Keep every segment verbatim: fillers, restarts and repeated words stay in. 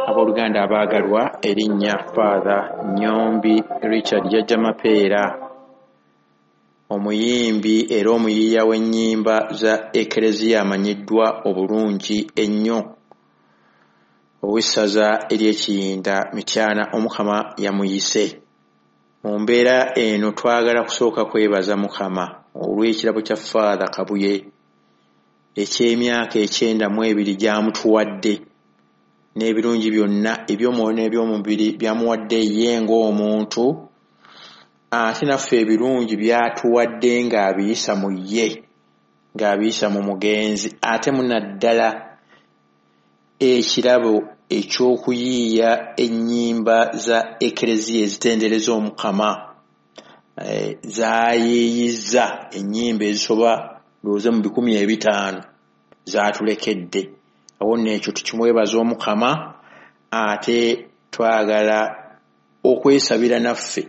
Abooluganda abaagalwa, erinnya Father Nyombi Richard Jjajja Mapeera, omuyimbi era omuyiiya w'ennyimba za Ekereziya amanyiddwa obulungi ennyo, ow'essaza ery'Ekiyinda Mityana, Omukama yamuyise. Mu mbeera eno twagala kusooka kwebaza Mukama olw'ekirabo kya Father Kabuye eky'emyaka ekyenda mu ebiri gy'amutuwadde, n'ebirungi byonna eby'omwoyo n'eby'omubiri by'amuwadde ye ng'omuntu, ate naffe ebirungi by'atuwadde ng'abiyisa mu ye, ng'abiyisa mu mugenzi, ate munaddala ekirabo eky'okuyiiya ennyimba za Ekereziya ezitendereza Omukama, zaayiiyizza ennyimba ezisoba ndowooza mu bikumi ebitaano zaatulekedde. Awo nno ekyo tukimwebaza Omukama, ate twagala okwesabira naffe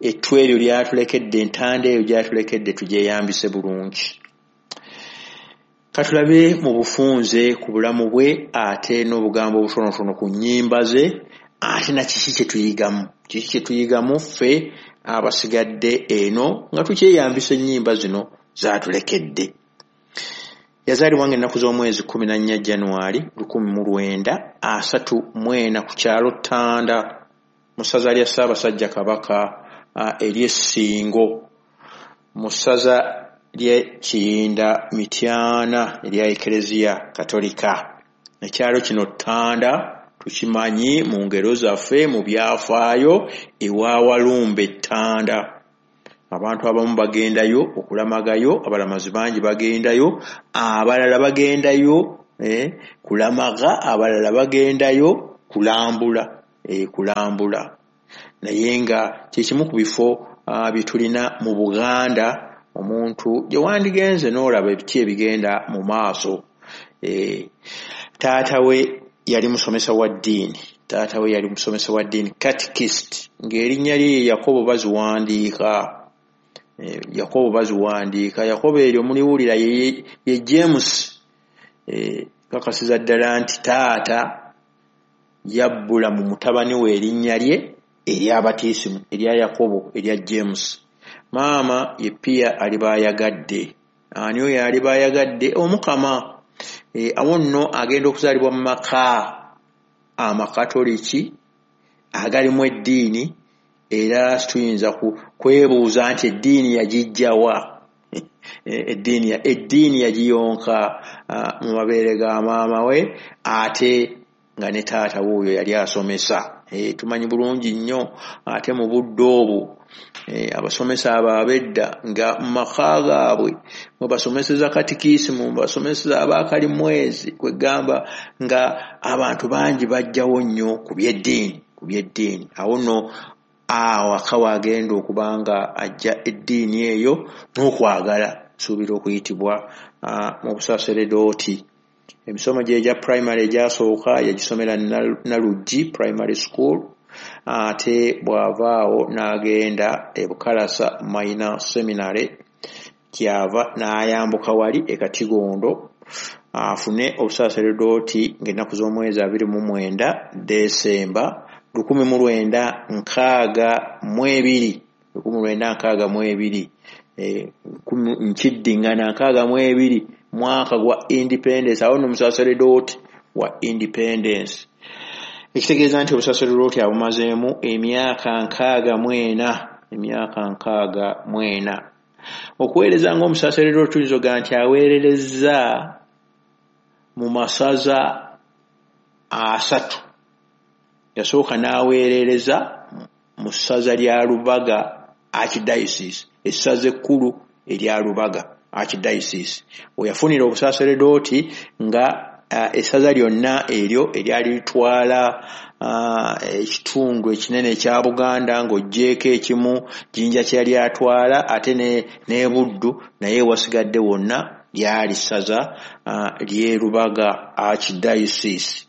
ettu eryo lyatulekedde, entanda eyo gyatulekedde tugyeyambise bulungi. Katulabe mu bufunze ku bulamu bwe, ate n'obugambo obutonotono ku nnyimba ze, ate na kiki kye tuyigamu, kiki kye tuyigamu ffe abasigadde eno nga tukyeyambisa ennyimba zino zaatulekedde. Yazaalibwa ng'ennaku z'omwezi kkumi na nnya Januari lukumi mu lwenda asatu mu ena ku kyalo Ttanda mu ssaza lya Ssaabasajja Kabaka ery'Essingo, mu ssaza ly'e Kiyinda Mityana erya Ekereziya Katolika. Ekyalo kino Ttanda tukimanyi mu ngero zaffe, mu byafaayo, ewa Walumbe Ttanda. Abantu abamu bagendayo okulamagayo, abalamazi bangi bagendayo, abalala bagendayo eh, kulamaga, abalala bagendayo kulambula, eh, kulambula. Naye nga kye kimu ku bifo uh, bye tulina mu Buganda omuntu gye wandigenze n'olaba ebiki ebigenda mu maaso. Eh, taata we yali musomesa wa ddiini, taata we yali musomesa wa ddiini, catechist, ng'erinnya lye ye Yakobo baziwandiika. Eh, Yakobo baziwandiika, Yakobo eryo muliwulira ye, ye James. Eh, kakasiza ddala nti taata yabbula mu mutabani we erinnya lye ery'abatiisimu erya Yakobo, erya James. Maama ye Pia Alibayagadde. Ani oyo Alibayagadde? Omukama. E, awo nno agenda okuzaalibwa mu maka amakatoliki agalimu eddiini, era tuyinza kwebuuza nti eddiini yagijja wa? Eddiini eddiini yagiyonka mu mabeere ga maama we, ate nga ne taata wuuyo yali asomesa. E, tumanyi bulungi nnyo ate mu budde obwo e, abasomesa abo ab'edda nga mu maka gaabwe mwe basomeseza katikisimu, mwe basomeseza abakalimwezi, kwegamba nga abantu bangi bajjawo nnyo ku by'eddiini, ku by'eddiini. Awo nno awaka wagenda okuba nga ajja eddiini eyo n'okwagala suubira okuyitibwa mu busaseredooti. Emisomo gye egya primary egyasooka yagisomera Naluggi Primary School, ate bw'avaawo n'agenda e Bukalasa Minor Seminary, kyava n'ayambuka wali e Katigondo afune obusaseredooti ng'ennaku z'omwezi abiri mu mwenda Desemba lukumi mu lwenda nkaaga mu ebiri, lukumi lwenda nkaaga mu ebiri, nkiddingana nkaaga mu ebiri, mwaka gwa independence. Awo nno omusaseredooti wa independence, ekitegeeza nti obusaseredooti abumazeemu emyaka nkaaga mu ena, emyaka nkaaga mu ena. Okuweereza ng'omusaseredooti tuyinza okugamba nti aweererezza mu masaza asatu. Yasooka n'aweerereza mu ssaza lya Lubaga Archdiocese, essaza ekkulu erya Lubaga Archdiocese, we yafunira obusaseredooti nga essaza lyonna eryo eryali litwala ekitundu ekinene ekya Buganda ng'oggyeeko ekimu Jinja kye yali atwala ate ne Buddu, naye wasigadde wonna lyali ssaza ly'e Lubaga Archdiocese.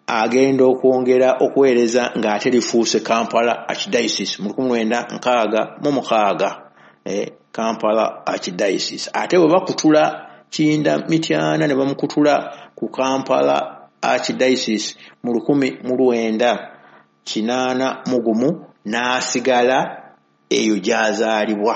Agenda okwongera okuweereza ng'ate lifuuse Kampala Archdiocese mu lukumi lwenda nkaaga mu mukaaga, Kampala Archdiocese. Ate bwe bakutula Kiyinda Mityana ne bamukutula ku Kampala Archdiocese mu lukumi mu lwenda kinaana mu gumu n'asigala eyo gy'azaalibwa,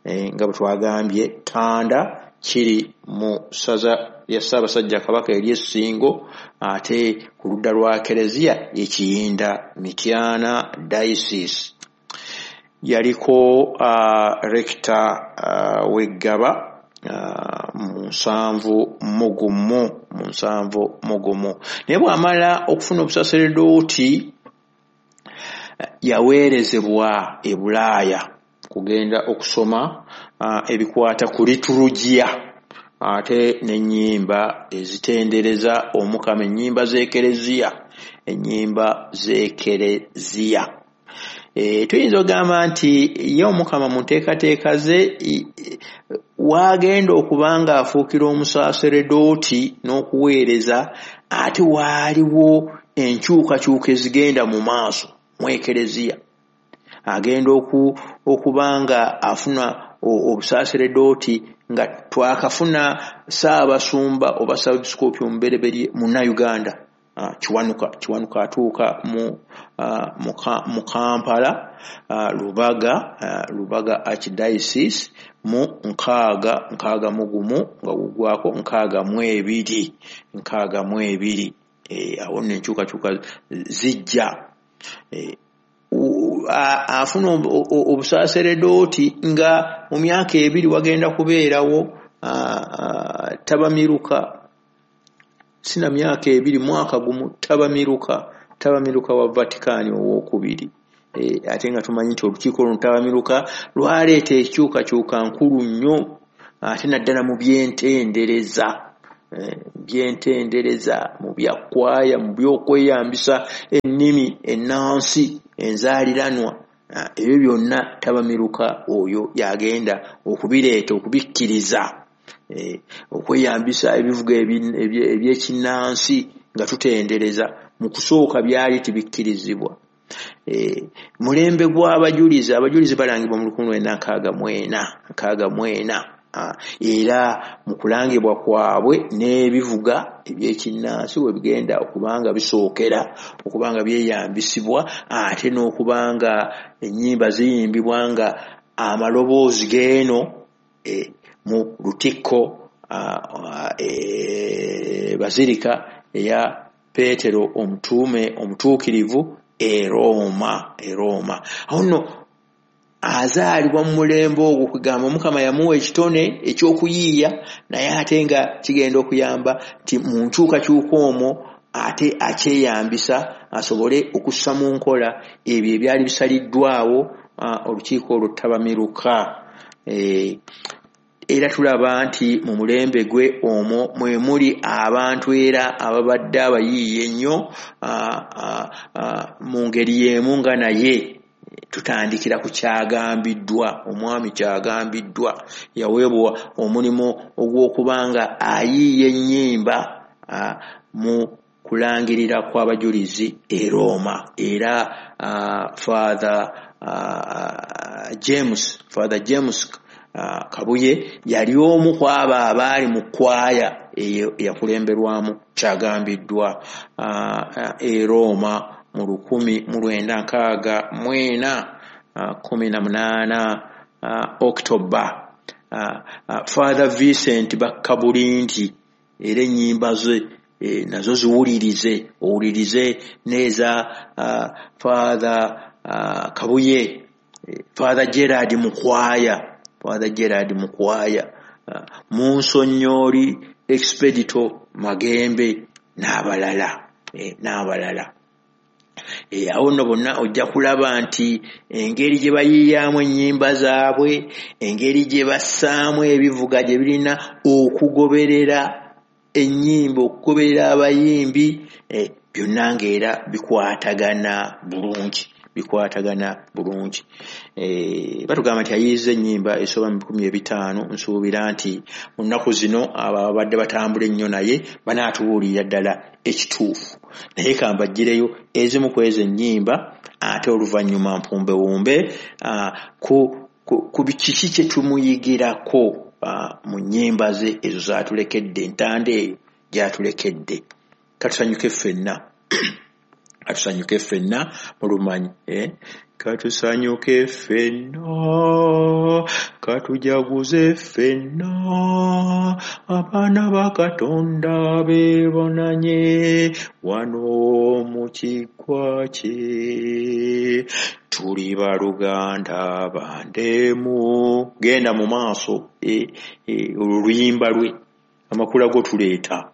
nga bwe twagambye Ttanda kiri mu ssaza lya Ssaabasajja Kabaka ery'Essingo, ate ku ludda lwa Kereziya ye Kiyinda Mityana Diocese. Yaliko rector w'Eggaba mu nsanvu mu gumu mu nsanvu mu gumu. Naye bw'amala okufuna obusaseredooti yaweerezebwa e Bulaaya kugenda okusoma ebikwata ku liturujia ate n'ennyimba ezitendereza Omukama, ennyimba z'Ekereziya, ennyimba z'Ekereziya. E, tuyinza okugamba nti ye Omukama mu nteekateeka ze waagenda okuba ng'afuukira omusaseredooti n'okuweereza, ate waaliwo enkyukakyuka ezigenda mu maaso mu Ekereziya. Agenda okuba nga afuna obusaseredooti nga twakafuna Ssaabasumba oba Ssaabepiskoopi omubereberye Munnayuganda Kiwanuka. Kiwanuka atuuka mu mu Kampala Lubaga Lubaga Archdiocese mu nkaaga nkaaga mu gumu nga gugwako nkaaga mu ebiri nkaaga mu ebiri. Awo nno enkyukakyuka zijja. Afuna obusaseredooti nga mu myaka ebiri wagenda kubeerawo tabamiruka, sina myaka ebiri, mwaka gumu tabamiruka tabamiruka wa Vatican owokubiri. E, ate nga tumanyi nti olukiiko luno tabamiruka lwaleeta ekyukakyuka nkulu nnyo, ate naddala mu byentendereza, e, byentendereza mu bya kwaya, mu by'okweyambisa ennimi ennansi enzaaliranwa, ebyo byonna tabamiruka oyo yagenda okubireeta, okubikkiriza, e, okweyambisa ebivuga eby'ekinnansi nga tutendereza. Mu kusooka byali tibikkirizibwa. E, mulembe gw'abajulizi, abajulizi balangibwa mu lukumi lwenda nkaaga mu ena nkaaga mu ena, era mu kulangibwa kwabwe n'ebivuga eby'ekinnansi we bigenda okubanga bisookera okubanga byeyambisibwa, ate n'okubanga ennyimba ziyimbibwa nga amaloboozi g'eno e, mu Lutikko e, Basilica eya Petero omutume omutuukirivu e Roma, e Roma. Awo nno azaalibwa mu mulembe ogwo, kugamba Omukama yamuwa ekitone ekyokuyiiya, naye ate nga kigenda okuyamba nti mu nkyukakyuka omwo ate akyeyambisa asobole okussa mu nkola ebyo ebyali bisaliddwawo olukiiko olwo ttabamiruka. E, era tulaba nti mu mulembe gwe omwo mwe muli abantu era ababadde abayiiya ennyo mu ngeri y'emu nga naye tutandikira ku kyagambiddwa, omwami kyagambiddwa yaweebwa omulimu ogw'okubanga ayiiya ennyimba mu kulangirira kw'abajulizi e Roma. Era Father James Father James Kabuye yali omu ku abo abaali mu kwaya eyo eyakulemberwamu kyagambiddwa e Roma mu lukumi mu lwenda nkaaga mu ena kumi na munaana October. Father Vincent Bakkabulinti era ennyimba ze nazo ziwulirize, owulirize n'eza Father Kabuye, Father Gerard Mukwaya, Father Gerard Mukwaya, Munsonnyoli Expedito Magembe n'abalala, n'abalala. E, awo nno bonna ojja kulaba nti engeri gye bayiiyaamu ennyimba zaabwe, engeri gye bassaamu ebivuga gye birina okugoberera ennyimba, okugoberera abayimbi, eh, byonna ng'era bikwatagana bulungi, bikwatagana bulungi. Eh, batugamba nti ayiiza ennyimba esoba mu bikumi ebitaano. Nsuubira nti mu nnaku zino abo ababadde batambula ennyo naye banaatubuulirira ddala ekituufu, naye kambaggireyo ezimu ku ezo ennyimba, ate oluvannyuma mpumbewumbe ku, ku, ku kiki kye tumuyigirako mu nnyimba ze ezo z'atulekedde, entanda eyo gy'atulekedde. Katusanyuke ffenna, katusanyuke ffenna mu lumanyi, eh? Katusanyuke ffenna, katujaguze ffenna, abaana ba Katonda beebonanye wano mu kiggwa kye. Tuli baluganda bandemu. Genda mu maaso, eh, eh, olwo luyimba lwe amakula go tuleeta.